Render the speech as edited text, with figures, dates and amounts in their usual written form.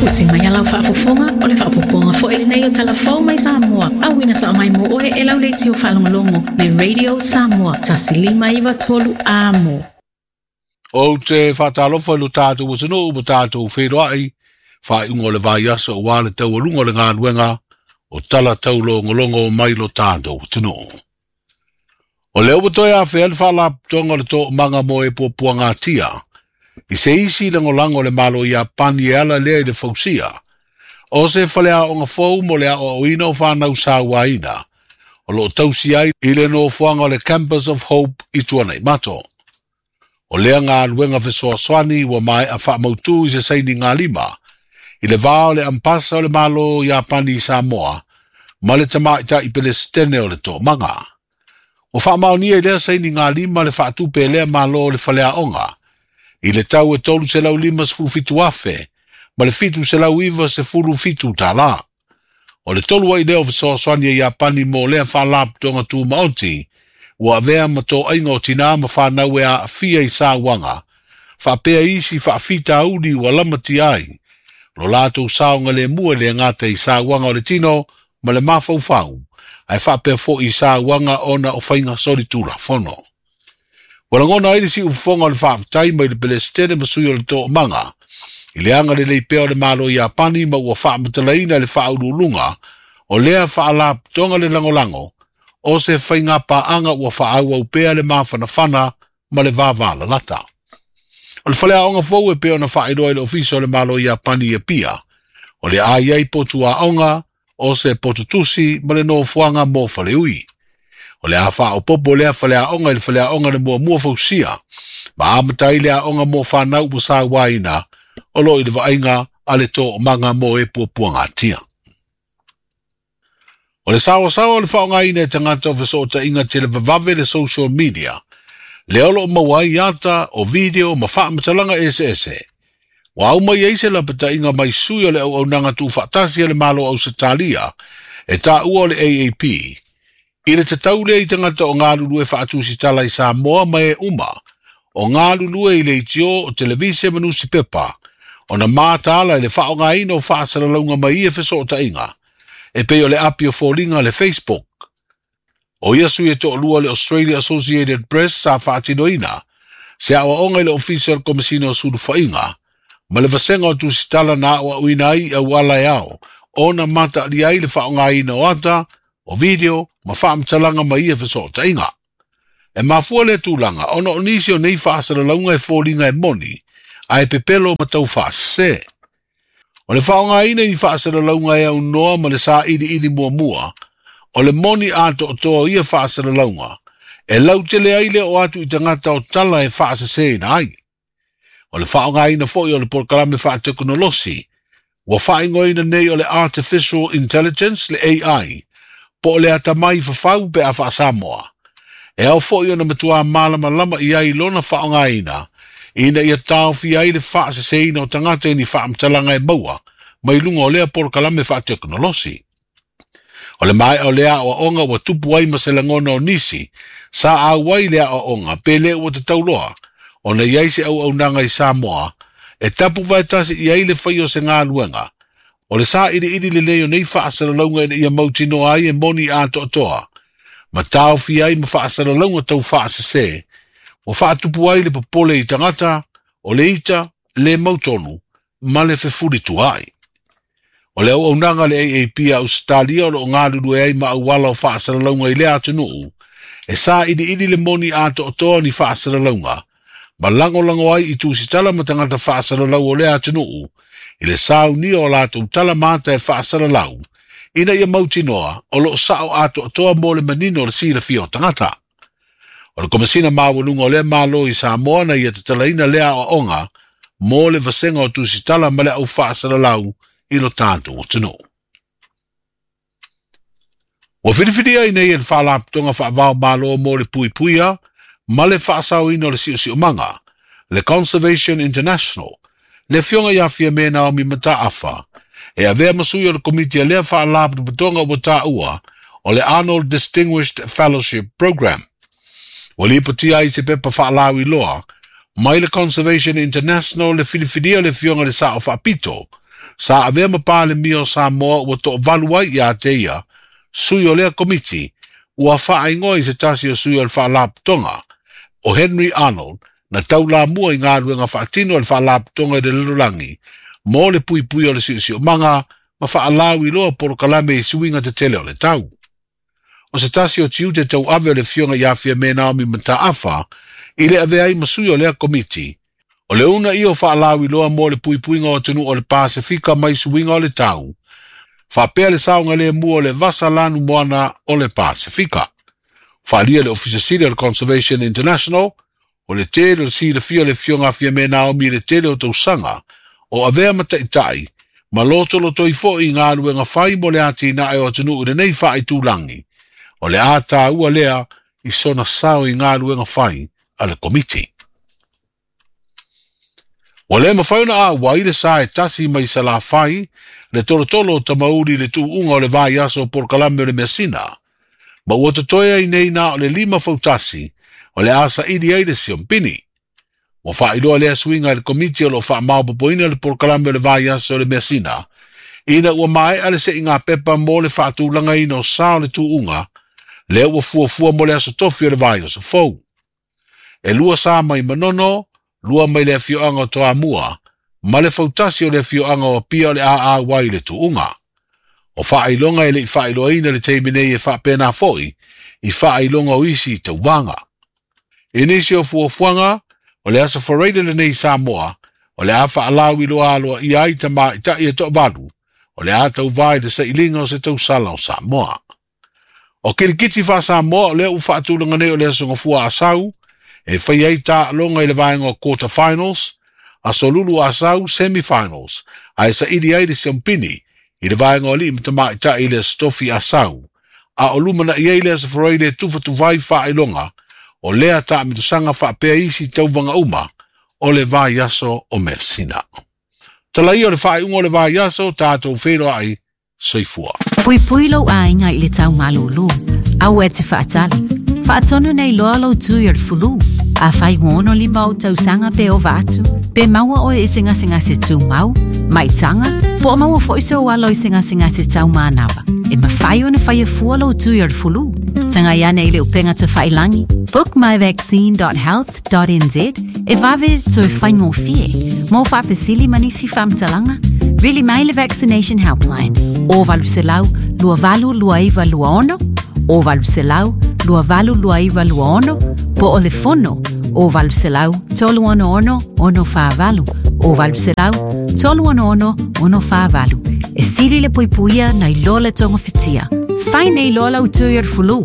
Usi mai a lau faafofoga, o le faaopoopoga foi lenei o Tala Fou mai Samoa, auina sao mai mo oe e lau leitio faalogologo, le Radio Samoa, 1593 Amo. Ou te faatalofa i lo tatou atunuu ma tatou feiloai, faaiuga o le vaiaso aua le taualuga o le galuega o tala taulogologo mai lo tatou atunuu. O lea ua toe afea le faalapotopotoga o le Toomaga mo e Puapuagatia i se isi lagolago o le Malo Iapani e ala lea i le fausia o se faleaoga fou mo le aoaoina o fanau sauaina o loo tausi ai i le nofoaga o le Campus of Hope i Tuanaimato. O lea galuega fesoasoani ua maea faamautu i se sainigalima i le va o le Ampasa o le Malo Iapani i Samoa ma le Tamaitai Pelesitene o le Toomaga. Ua faamaonia i lea sainigalima le faatupe e lea Malo o le faleaoga i le tau e $357,000 ma le $797. O le tolu ai lea o fesoasoani a Iapani mo lea faalapotopotoga tumaoti ua avea ma toaiga o tinā ma fanau e aafia i sauaga, faapea isi faafitauli ua lamatia ai lo latou saogalemu e le gata i sauaga o le tino ma le mafaufau, ae faapea foi i sauaga ona o faiga solitulafono. Ua lagona ai le siufofoga o le faafetai mai le Pelesitene ma sui o le Toomaga i le agalelei pea o le Malo Iapani ma ua faamatalaina le faauluuluga o lea faalapotopotoga le lagolago o se faiga paaga ua faaauau pea le mafanafana ma le vavalalata. O le faleaoga fou e pei ona faailoa i le Ofisa o le Malo Iapani i Apia, o le a i ai potu aoga o se potutusi ma le nofoaga mo faleui. O le a faaopoopo lea faleaoga i le faleaoga le muamua fausia, ma amata ai le aoga mo fanau ua sauaina o loo i le vaaiga a le Toomaga mo e Puapuagatia. O le saoasaoa o le faaaogaina e tagata o fesootaiga televavave le social media, lea o loo maua ai ata o video ma faamatalaga eseese. Ua aumai ai se lapataiga mai sui o le auaunaga tuufaatasi a le Malo Ausetalia e taua o le AAP, i le tatau lea i tagata o galulue faatusitala i Samoa ma e uma o galulue i leitio o televise ma nusipepa, ona mataala i le faaaogaina o faasalalauga mai ia fesootaiga, e pei o le api o foliga le Facebook. O ia sui e toalua le Australia Associated Press sa faatinoina se aoaoga i le Ofisa o le Komesina o Sulufaiga ma le vasega o tusitala na aoaoina ai i auala e ao ona mataalia ai le faaaogaina o ata, o video ma faamatalaga mai ia fesootaiga. E mafua lea tulaga ona o nisi o nei faasalalauga e foliga e moni, ae pepelo ma taufaasese. O le faaaogaina i faasalalauga e aunoa ma le sailiili muamua, o le moni atoatoa o ia faasalalauga, e lautele ai le oo atu i tagata o tala e faaseseina ai. O le faaaogaina foi o le polokalame faatekonolosi, ua faaigoaina nei o le Artificial Intelligence le AI, po o le atamai fafau pe a faasamoa. E ao foi ona matua malamalama i ai lona faaaogaina, ina ia taofia ai le faaseseina o tagata i ni faamatalaga e maua mai luga o lea polokalame faatekonolosi. O le maea o lea aoaoga ua tupu ai ma se lagona o nisi sa auai le aoaoga pe le ua tatau loa ona i ai se auaunaga i Samoa e tapu vaetasi i ai le fai o se galuega. O le sailiili lelei o nei faasalalauga ina ia mautinoa ai e moni atoatoa, ma taofia ai ma faasalalauga taufaasese, ua faatupu ai le popole i tagata, o le ita, le mautonu, ma le fefulituaai. O le auaunaga le AAP a Ausetalia o loo galulue ai ma auala o faasalalauga i lea atunuu, e sailiili le moni atoatoa ni faasalalauga, ma lagolago ai i tusitala ma tagata faasalalau o lea atunuu, i le saunia o latou tala ma ata e faasalalau, ina ia mautinoa o loo sao atoatoa mo le manino o le silafia o tagata. O le Komesina Maualuga o lea Malo i Samoa na ia tatalaina lea aoaoga mo le vasega o tusitala ma le au faasalalau i lo tatou atunuu. Ua filifilia ai nei e le Faalapotopotoga Faavaomalo mo le Puipuia ma le Faasaoina o le Siosiomaga, le Conservation International, le afioga ia Fiame Naomi Mataafa, e avea ma sui o le komiti a lea faalapotopotoga ua taua o le Arnold Distinguished Fellowship Program. Ua lipotia ai se pepa faalauiloa mai le Conservation International le filifilia o le afioga i le Sao Faapito, sa avea ma Palemia o Samoa ua to'avalu ai iā te ia sui o lea Komiti ua fa'aigoa i se tasi o sui o le Fa'alapotopotoga o Henry Arnold na taulamua i galuega fa'atino a le Fa'alapotopotoga i le lalolagi mo le puipui o le siosiomaga ma fa'alauiloa polokalame i suiga tetele o le tau. O se tasi o tiute tauave o le Afioga ia Fiamē Naomi Mataafa i le avea ai ma sui o lea Komiti, o le uunaia o fa'alauiloa mo le puipuiga o atunuu o le Pasefika mai suiga o le tau, fa'apea le saogalemu o le vasa lanu moana o le Pasefika. Fa'alia le Ofisa Sili o le Conservation International, o le tele o le silafia o le Afioga a Fiamē Naomi i le tele o tausaga o avea ma ta'ita'i ma lotolotoi fo'i i galuega fai mo le atinae o atunuu i lenei fa'aitulagi, o le a tāua lea i sona sao i galuega fai a le Komiti. Ua lē mafai ona auai le sa e tasi mai Salafai le tolotolo o Tamauli i le tuuuga o le vaiaso o polokalame o le measina, ma ua totoe ai nei na o le 5 fautasi o le a saili ai le siompini. Ua faailoa lea suiga i le Komiti o loo faamaopopoina le polokalame o le vaiaso o le measina, ina ua mae'a le se'iga pepa mo le faatulagaina o sa o le tuuga, lea ua fuafua mo le aso tofi o le vaiaso fou. E 2 sa mai Manono, 2 mai le afioaga o Toamua, ma le fautasi o le afioaga o Apia o le a ai le tuuga. O faailoga e le'i faailoaina le taimi nei e faapena fo'i i faailoga o isi tauvaga. I nisi o fuafuaga, o le aso Faraile lenei i Samoa, o le a fa'alauiloa aloaia ai tamaita'i e to'avalu, o le a tauvā i le sailiga o se tausala o Samoa. O kilikiti fā-Samoa o lea ua fa'atulaga nei o le aso Gafua Asau, e fai ai ta'aloga i le vaega o quarter finals, aso Lulu Asau semi-finals, ae saili ai le siompini i le vaega o ali'i ma tamaita'i i le aso Tofi Asau, a o lumana'i ai le aso Faraile e tufatufa ai faailoga o lea ta'amitosaga fa'apea isi tauvaga uma o le vaiaso o measina. Talaia o le faaiuga o le vaiaso, tatou feiloai, soifua. Puipui lou aiga i le tau malūlū. Aua e te faatali. Faatonu nei loa lou tui o le fulu. Afai ua 65 ou tausaga pe ova atu, pe maua oe i se gasegase tumau, maitaga, po o maua fo'i sou alo i se gasegase taumanava. E mafai ona faia fua lou tui o le fulu. Tagai ane i le upega tafailagi bookmyvaccine.health.nz e vave toe faigofie. Mo faafesili ma nisi faamatalaga, vili mai le Vaccination Helpline o 800 2829 26 o 800 2829 26 po o le fono o 800 366 648 o 800 366 648. E sili le puipuia nai lo le togafitia. Fai nei loa lau tui o le fulu.